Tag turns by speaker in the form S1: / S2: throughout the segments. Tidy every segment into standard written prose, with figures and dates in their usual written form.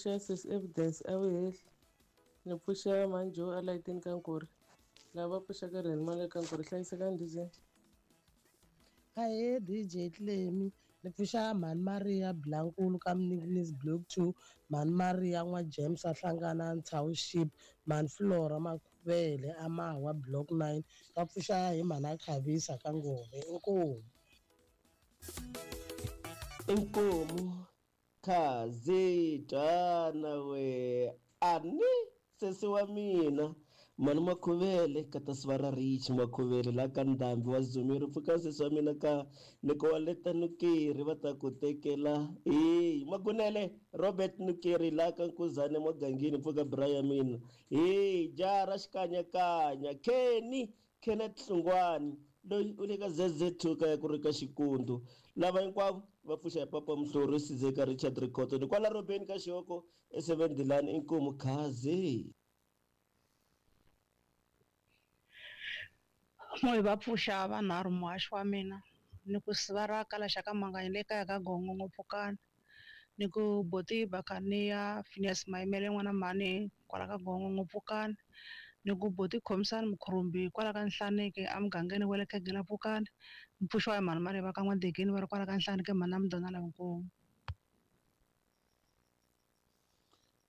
S1: Pfuxa Sis Evidence a Vuhehli. Ni pfuxa Mhani Joe a Layitini ka Nkuri. Lava va pfuxaka Rheni Male ka Nkuri. Hlayisekani DJ.
S2: Ahee DJ Clemy ni pfuxa mhani Maria Blankulu ka Mninginis Block 2 mhani Maria n'wa James a hlangana Township mhani Flora Makhuvele a Mahwa Block 9 va pfuxa hi mhani a Khavisa ka Ngove inkomu.
S3: Inkomu Khazi twana we ani sesi wa mina mani Makhuvele ka ta siva ra Rich Makhuvele la ka Ndhambi wa Zumiri pfuka sesi wa mina ka ni ku wa leta Nukeri va ta ku tekela heyi Magunele Robert Nukeri la ka Nkuzane Magangini pfuka bra ya mina heyi jaha ra xikanyakanya Kenny Kenneth Hlungwani loyi u le ka ZZ2 kaya ku ri ka Xikundu lava hinkwavo va pfuxa hi Papa Muhluri Sizeka Richard Rikhotso ni kwala Robeni ka Xihoko eSevendilani inkomu khazi.
S4: Mo hi va pfuxa vanharhu muhaxi wa mina ni ku siva ra kalaxa ka Manganyi le kaya ka Gongongo Pfukani ni ku boti Bakania Phineas Mayimele n'wana mhani kwala ka Gongongo Pfukani ni ku boti Khomisani Mukhurumbi kwala ka Nhlaneke emugangeni wa le Khegela Pfukani mpfuxo wa mhani Mariva ka N'wadegeni va ri kwala ka Nhlaneke mhani na Mdonala Nkomu.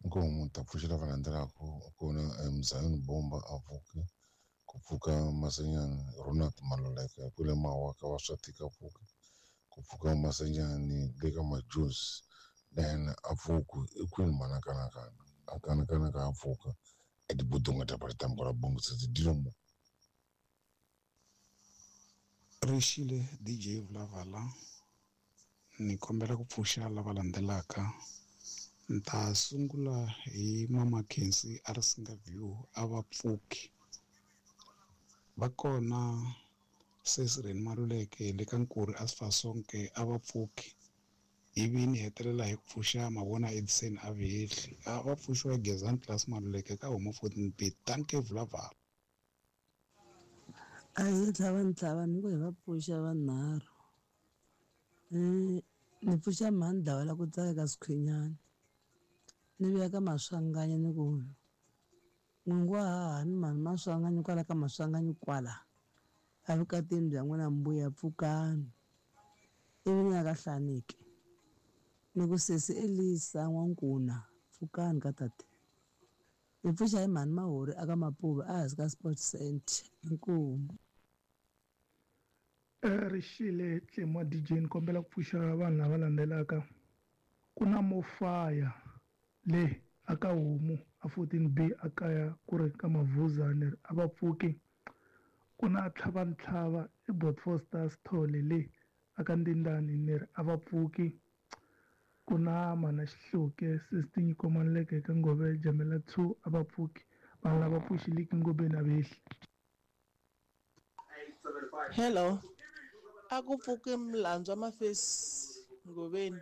S5: Nkomu ta pfuxela va landzelaka kona Mzayoni Bomba a pfuke ku pfuka Masenyani Ronald Maluleke kule Mawaka wa swa tika pfuke ku pfuka Masenyani le ka Majuzi na yena a pfuki i kwini mhana kanakana a kanakana ka a pfuka etibudunga ta palitambo ra bongisa dilomo.
S6: Rixile DJ Vulavala ni kombela ku pfuxa lava landzelaka. Ni ta sungula hi Mama Khensi a ri Singa View a va pfuki. Va kona Sesi Reni Maluleke le ka Nkuri a swi fa sonke a va pfuki. Ivi ni hetelela hi ku pfuxa Mavona Edison a Vehehli a va pfuxiwa hi Gezani Class Maluleke ka Home 14B. Dankie Vulavala.
S7: A hi tlhava ni tlhava ni ku hi va pfuxa vanharhu. Ni pfuxa mhani Dawela ku tsaka ka Sikhwinyana. Ni vuya ka Maswanganyi ni ku n'wingi wa hahani mhani Maswanganyi kwala ka Maswanganyi kwala evukatini bya n'wina mbuya pfukani. Ivi ni ya ka Hlaniki ni ku sesi Elisa N'wankuna pfukani ka tate. Ni pfuxa hi mhani Mahori aka Mapuve a hansi ka Sports Center inkomu.
S8: Rixile Tlema DJ ni kombela ku pfuxa vanhu lava landzelaka. Ku na Mofaya le aka Homu a 14B a kaya ku ri ka Mavuza ni ri a va pfuki. Ku na Tlhavantlhava i Bot Foster Sithole le aka Ndindani ni ri a va pfuki. Ku na Mana Xihluke Sister Nyiko Maluleke ka Ngove Jamela 2 a va pfuki. Vanhu lava pfuxiliki Ngobeni a vehli.
S9: Hello. A ku pfuki Mlandzwa Mafesi Ngobeni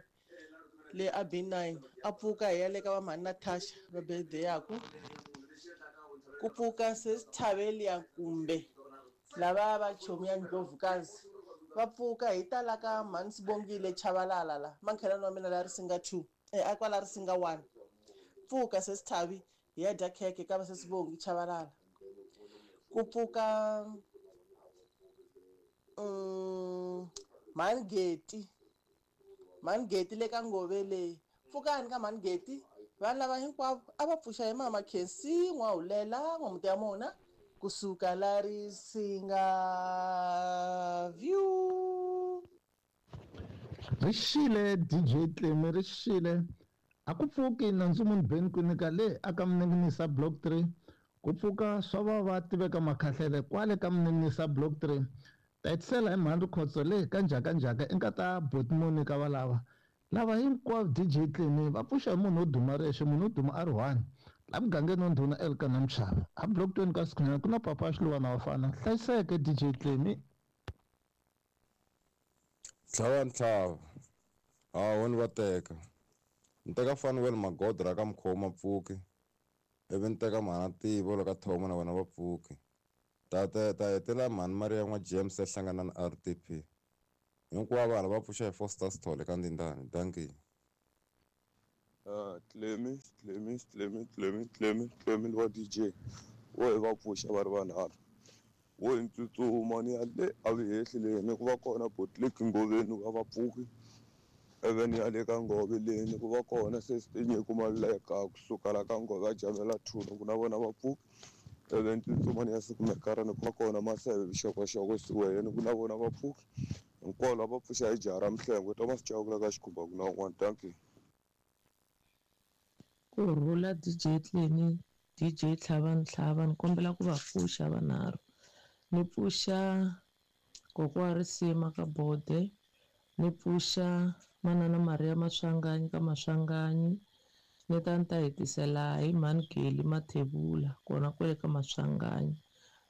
S9: le a B9 a pfuka hi ya le ka va mhani Natasha va birthday yaku. Ku pfuka Sesi Thabelia kumbe lava va chomi ya Ndlovukazi va pfuka hi ta la ka mhani Sibongile Chabalala la makhelwani wa mina la Risinga 2 a kwala Risinga 1. Pfuka Sesi Thabi hi ya dya khekhe ka va Sesi Bongi Chabalala. Ku pfuka mhani Geti mhani Geti le ka Ngove leyi pfukani ka mhani Geti vanhu lava hinkwavo a va pfuxa hi mama Khensi N'wahulela n'wamuti ya mona kusuka la Risinga View.
S10: Rixile DJ Tlemi rixile a ku pfuki nandzu munhu beni kwinika le aka Mninginisa Block 3 ku pfuka swa va va tiveka makhahlele kwale ka Mninginisa Block 3 ta hetisela hi mhani Rikhotso le ka njhakanjhaka i nkata Botmoni ka valava lava hinkwavo DJ Tlemi va pfuxa hi munhu wo duma rexe munhu wo duma a ri one la mugangeni wa ndhuna Elkana Mchava a Block 20 ka Sikhunana ku na papa Xiluva wafana hlayiseke DJ Tlemi.
S11: Tlhava ntlhava hawa ni va teka ni teka Fanuel Magodra ka Mkhoma pfuki ivi ni teka mhana Tivo loko a thoma na vona va pfuki ta ta hetelela mhani Maria n'wa James a hlangana na RTP hinkwavo vanhu va pfuxa hi Foster Sithole ka Ndindani dankie.
S12: Clemi Clemi Clemi Clemi Clemi Clemi wa DJ wo hi va pfuxa va ri vanharhu wo hi tsutsuma ni ya le a vi hehli leni ku va kona botlek ngoveni va va pfuki ivi ni ya le ka ngove leni ku va kona sesitenyeku maluleka kusuka la ka ngove a jamela thuna ku na vona va pfuki ivi ni tsutsuma ni ya sikumekara ni ku va kona maseve vuxokoxoko siweyeni ku na vona va pfuki hinkwavo lava pfuxa hi jaha ra mihlengo Thomas Chauke ka xikhumba ku na un'wana. Thank you.
S1: Kurhula DJ Clemi, DJ Tlhava Tlhava, ni kombela ku va pfuxa vanharhu. Ni pfuxa kokwa wa risima ka Bode, ni pfuxa manana Maria Maswanganyi ka Maswanganyi, ni ta ni ta hetisela hi mhani Geli Mathebula kona kwale ka Maswanganyi.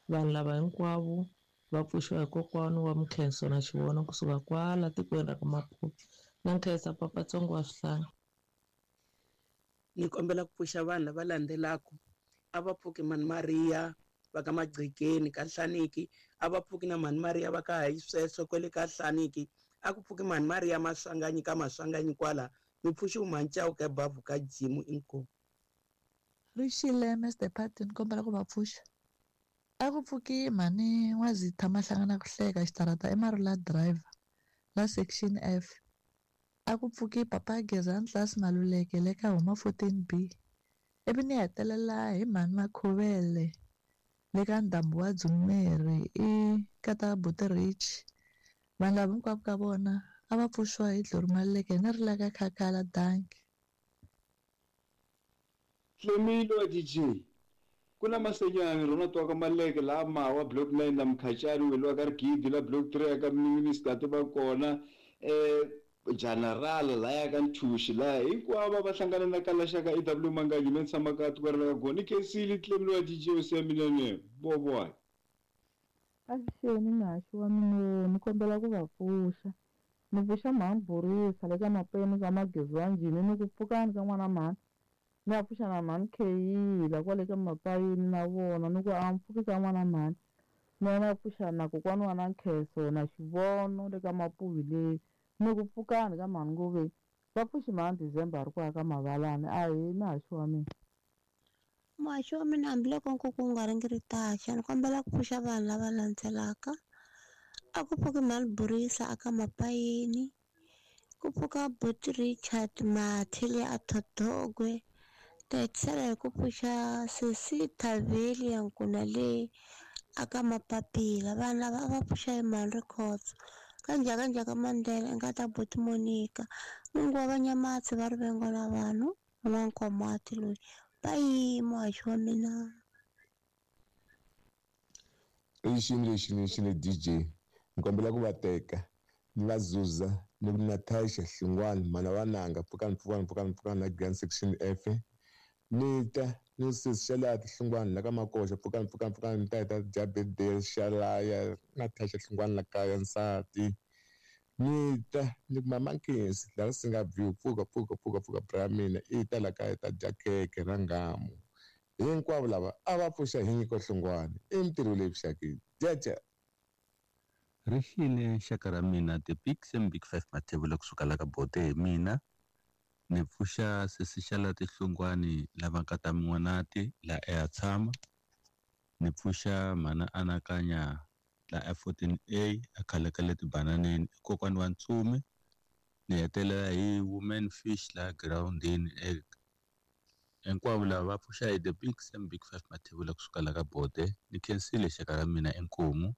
S1: Vanhu lava hinkwavo va pfuxiwa hi kokwani wa Mkhenso na Xivono kusuka kwala tikweni ra ka Maputo. Na nkhensa papatsongo wa swihlanga.
S13: Ni kombela ku pfuxa vanhu lava landzelaka. A va pfuki mhani Maria va ka Magcekeni ka Hlaniki, a va pfuki na mhani Maria va ka Hayi sweswo kwale ka Hlaniki, a ku pfuki mhani Maria Maswanganyi ka Maswanganyi kwala, mi pfuxi mhani Chauke Bavhu ka Jimu inkomu.
S14: Rixile Mr Party, ni kombela ku va pfuxa. A ku pfuki mhani N'wazitha Mahlangana ku hleka xitarata eMarula Driver la section F. A ku pfuki papa Gezani Class Maluleke le ka huma 14B. Ivi ni hetelela hi mhani Makhuvele le ka ndhambu wa Dzumeri i kata Buti Rich. Vanhu lava hinkwavo ka vona a va pfuxiwa hi Dlori Maluleke ni ri la ka Khakhala Danki.
S15: Clemilo wa DJ ku na Masenyani rona twaka Maleke la Mawa block 9 la Mkhachani weliwa ka Rigidi la block 3 ka Minister va kona General la ya ka Nthuxi la hinkwavo va hlangana na Kalaxaka EW Manganyi me tshama ka tiko ra ka Goni Khensile Clemilo wa DJ o siya minene boboy.
S16: Avuxeni muhaxi wa mina, ni kombela ku va pfuxa. Ni pfuxa mhani Borisa le ka Mapeni ka Magezi wa Njhini, ni ku pfukani ka n'wana mhani. Ni va pfuxa na mhani Kheyila kwale ka Mapayini na vona, ni ku a mpfuki ka n'wana mhani. Ni ya na pfuxa na kokwana wa na Nkhenso na Xivono le ka Mapuvi leyi. Ni ku pfukani ka mhani Ngoveni. Va pfuxi mhani December a ri kwala ka Mavalani. Ahee muhaxi wa mina.
S17: Muhaxi wa mina, hambiloko nkuku wu nga ringiritaxa, ni kombela ku pfuxa vanhu lava landzelaka. A ku pfuki mhani Borisa aka Mapayini, ku pfuka Buti Richard Mathe le a Thodogwe, ta hetisela hi ku pfuxa Sesi Thaveli ya Nkuna le aka Mapapila. Vanhu lava a va pfuxa hi mhani Rikhotso. Ka njhakanjhaka Mandela i nga ta Buti Monica, n'wingi wa Vanyamatsi va rivengo na vanhu, N'wankomati loyi. Bayi muhaxi wa mina.
S18: Lexi DJ ni kombela ku va teka ni va zuza ni ku Natasha Hlungwani mana wa nanga pfukani pfukani pfukani pfukani na Grand Section F ni ta ni sesi Xalati Hlungwani la ka Makoxa pfukani pfukani pfukani ni ta hi ta dya birthday Xalaya Natasha Hlungwani la kaya nsati ni ta ni ku mama Nkensi la ri singa view pfuka pfuka pfuka pfuka bra mina i ta la kaya ta dya khekhe ra nghamu. Hinkwavo lava a va pfuxa hi nyiko Hlungwani i mintirho leyi pfuxakile dyaja.
S19: Rixile xaka ra mina the big same big five Mathebula kusuka la ka Bote hi mina ni pfuxa sesi Xalati Hlungwani lava nkata min'wanati la eya tshama, ni pfuxa mhana Anakanya la F14A a khale ka le tibananeni i kokwani wa Ntsumi, ni hetelela hi woman fish la groundini hinkwavo lava va pfuxa hi the big same big five Mathebula kusuka la ka Bote. Ni khensile xaka ra mina inkomu.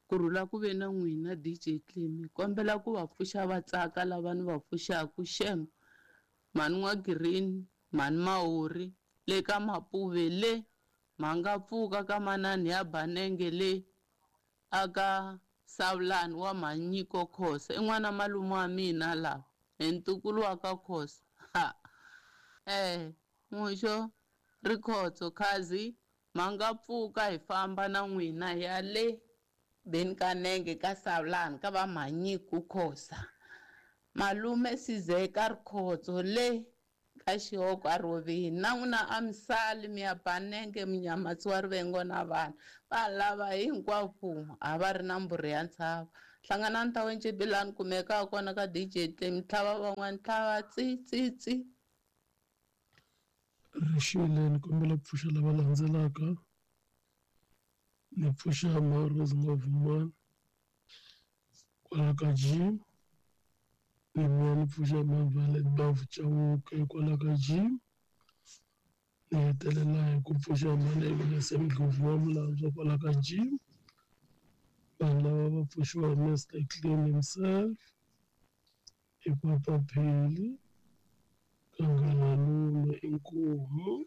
S20: Kurhula ku ve na n'wina DJ Clemi, kombela ku va pfuxa va tsaka lava ni va pfuxaku xem mhani n'wa Green, mhani Mahori le ka Mapuve le mhanga pfuka ka manani ya Banenge le aka Savulani wa Mhanyiko Khosa i n'wana malume wa mina lava hi ntukulu wa ka Khosa ha muxo Rikhotso khazi mhanga pfuka hi famba na n'wina ya le beni ka nenge ka Savulani ka va Mhanyiko Khosa malume Sizeka Rikhotso le ka Xihoko a Rhovini na n'wina a misali mi ya Banenge Munyamatsi wa rivengo na vana va lava hinkwavo a va ri na mbhuri ya ntshava Hlanganani Township laha ni kumekaka kona ka DJ Tlemi tlhava van'wani tlhava tsi tsi tsi.
S8: Rixile ni kombela ku pfuxa lava landzelaka ni pfuxa Maurus Ngwavumani kwala ka gym ni vuya ni pfuxa Mavalet Bavu Chauke kwala ka gym ni hetelela hi ku pfuxa Malevile Semdlovu wa Mulandzwa kwala ka gym vanhu lava va pfuxiwa hi Mr Clean himself i Papa Phili Kangalalume inkomu.